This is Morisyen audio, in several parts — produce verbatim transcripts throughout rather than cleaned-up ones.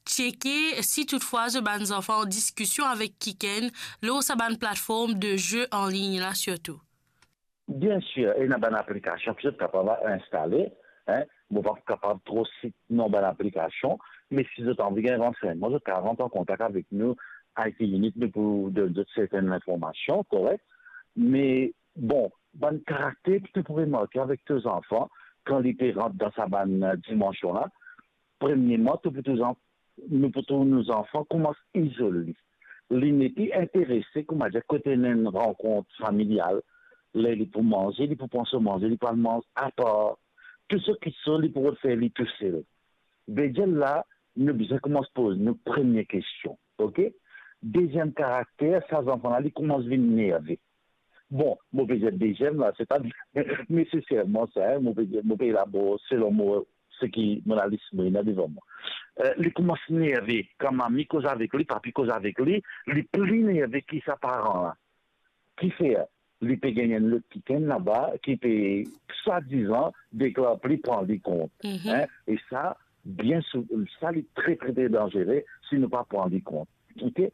tcheke si toutfwa zot bann zanfan an diskision avek kikenn lor sa bann platform de ze an lign la sirtou? Bien sir, ena bann aplikasion ki zot kapav instale, hein. Mo pa kapav tro sit non bann aplikasion, me si zot anvi gagn ransegnman, zot kapav rant an kontak avek nou, I T Unit, nou pou donn zot sertenn linformasion, korek? Me bon, bann karakter ki to pou remarke avek to zanfan, kan li pe rant dan sa bann, eh, dimansion la, premierman, to pou to zan-, nou pou trouv nou zanfan koumans izol li. Li nepli interese, kouma dir, kot ena enn rankont familial, ler li pou manze, li pou pran so manze, li pou al manz apar. Tou so ki so, li pou rod fer li tousel. Vedir la, nou bizin koumans poz nou premie kestion, ok? Deziem karakter, sa zanfan la, li koumans vinn nerve. Bon, mo pe dir deziem la, se pa neseserman sa, hein, mo pe dir, mo pe elabor selon mo, seki mo lalis mo ena devan mwa. Eh, li koumans nerve, kan mami koz avek li, papi koz avek li, li pli nerve ki sa paran la. Kifer? Li pe gagn enn lot kikenn laba, ki pe swadizan deklar pli pran li kont. Mhm. Hein? E sa, bien sou-, sa li tre, tre, tre danzere si nou pa pran li kont. Ok?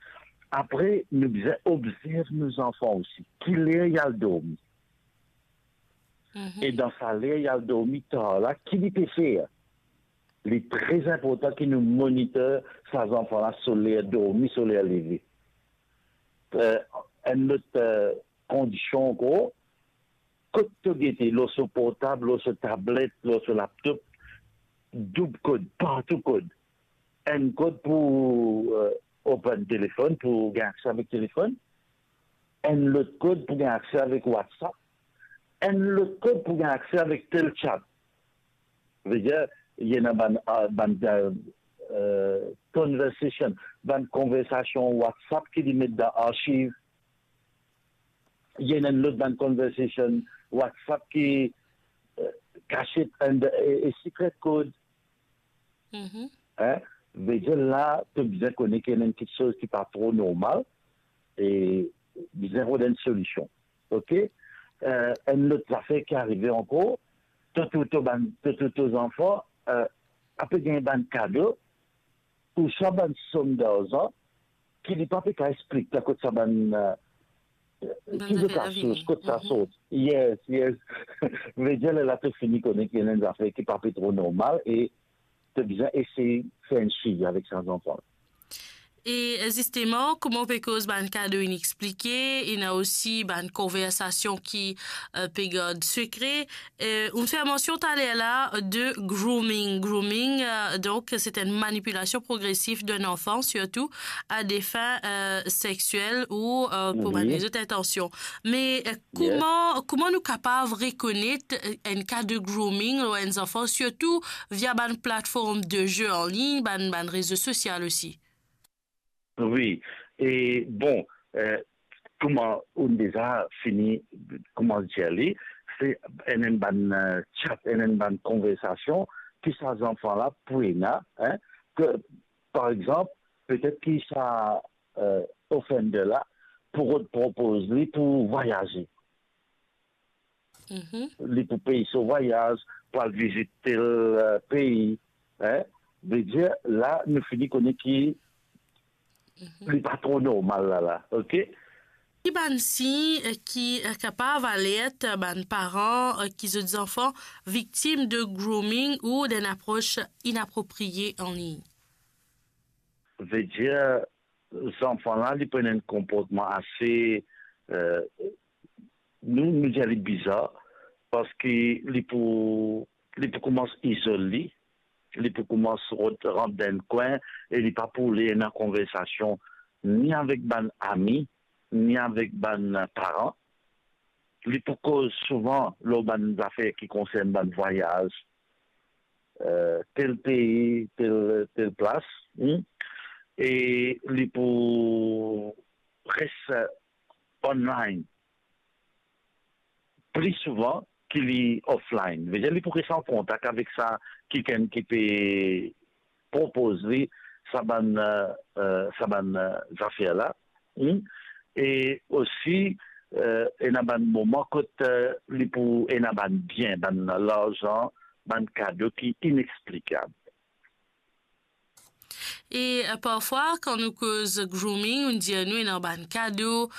Apre, nou bizin obzerv nou zanfan osi. Ki ler li al dormi? Mhm. E dan sa ler li al dormi tar la, ki li pe fer? Li tre inportan ki nou monitor sa zanfan la, so ler dormi, so ler leve. Eh, enn lot, eh, kondision ankor, kot to gete, lor so portab, lor so tablet, lor so laptop, doub kod, partou kod. Enn kod pou, eh, open telefonn, pou gagn akse avek telefonn. Enn lot kod pou gagn akse avek WhatsApp. Enn lot kod pou gagn akse avek tel chat. Vedir, ena bann, ah, bann, eh, eh, conversation, bann konversasion WhatsApp ki li met dan archive. Ena enn lot bann conversation WhatsApp ki, eh, kasiet and, eh, eh, secret code. Mhm. Hein? Vedir la, to bizin kone ki ena enn kiksoz ki pa tro normal e bizin rod enn solision. Ok? Eh, enn lot zafer ki arive ankor, to, to, to bann, to, to, to zanfan, eh, ape gagn bann kado, ouswa bann som darzan ki li pa pe kav explik kot sa bann, eh, bann ki zafer zot la kav vini. Kot sa sort. Yes, yes. Vedir, lerla to fini kone ki ena enn zafer ki pa pe tro normal e to bizin esey fer enn swivi avek sa zanfan. E, eh, zisteman, kouma ou pe koz bann kado inexplike, ena osi bann konversasion ki, eh, pe gard sekre. Eh, ou fer mansion taler la de grooming. Grooming, eh, donk, se enn manipilasion progresif d'un enfant, sirtou a des fins, eh, sexuelles ou, eh, pou bann lezot intansion. Me, eh, kouma, kouma nou kapav rekonet, eh, enn ka de grooming lor enn zanfan, sirtou via bann platform de ze an lign, bann, bann rezo sosial osi? Wi, e bon, eh, kouma ou deza fini, kouma dir li, se enn, enn bann, eh, chat, enn, enn bann konversasion ki sa zanfan la pou ena, hein, ke, par exanp, petet ki sa, eh, offender la pou rod propoz li pou vwayaze. Mhm. Li pou pey so vwayaz, pou al vizit tel, eh, pei, hein? Vedir, la, nou fini kone ki li pa tro normal la, la, ok? Ki bann sign, eh, ki, eh, kapav alert bann paran, eh, ki zot zanfan viktim de grooming ou d'enn apros inapropriye an lign? Vedir, zanfan la, li pran enn konportman ase, eh, nou, nou dir li bizar, parski li pou, li pou koumans izol li, li pou koumans rod, rant dan enn kwin, e li pa pou le ena konversasion ni avek bann ami, ni avek bann paran. Li pou koz souvan lor bann zafer ki konsern bann vwayaz, eh, tel pei, tel, tel plas, hmm? E li pou res, eh, online pli souvan ki li offline. Vedir li pou res an kontak avek sa kikenn ki pe propoz li sa bann, eh, eh, sa bann, eh, zafer la. Hmm? E osi, eh, ena bann moman kot, eh, li pou ena bann bien, bann larzan, bann kado ki inexplikab. E, eh, parfwa, kan nou koz grooming, nou dir nou ena bann kado,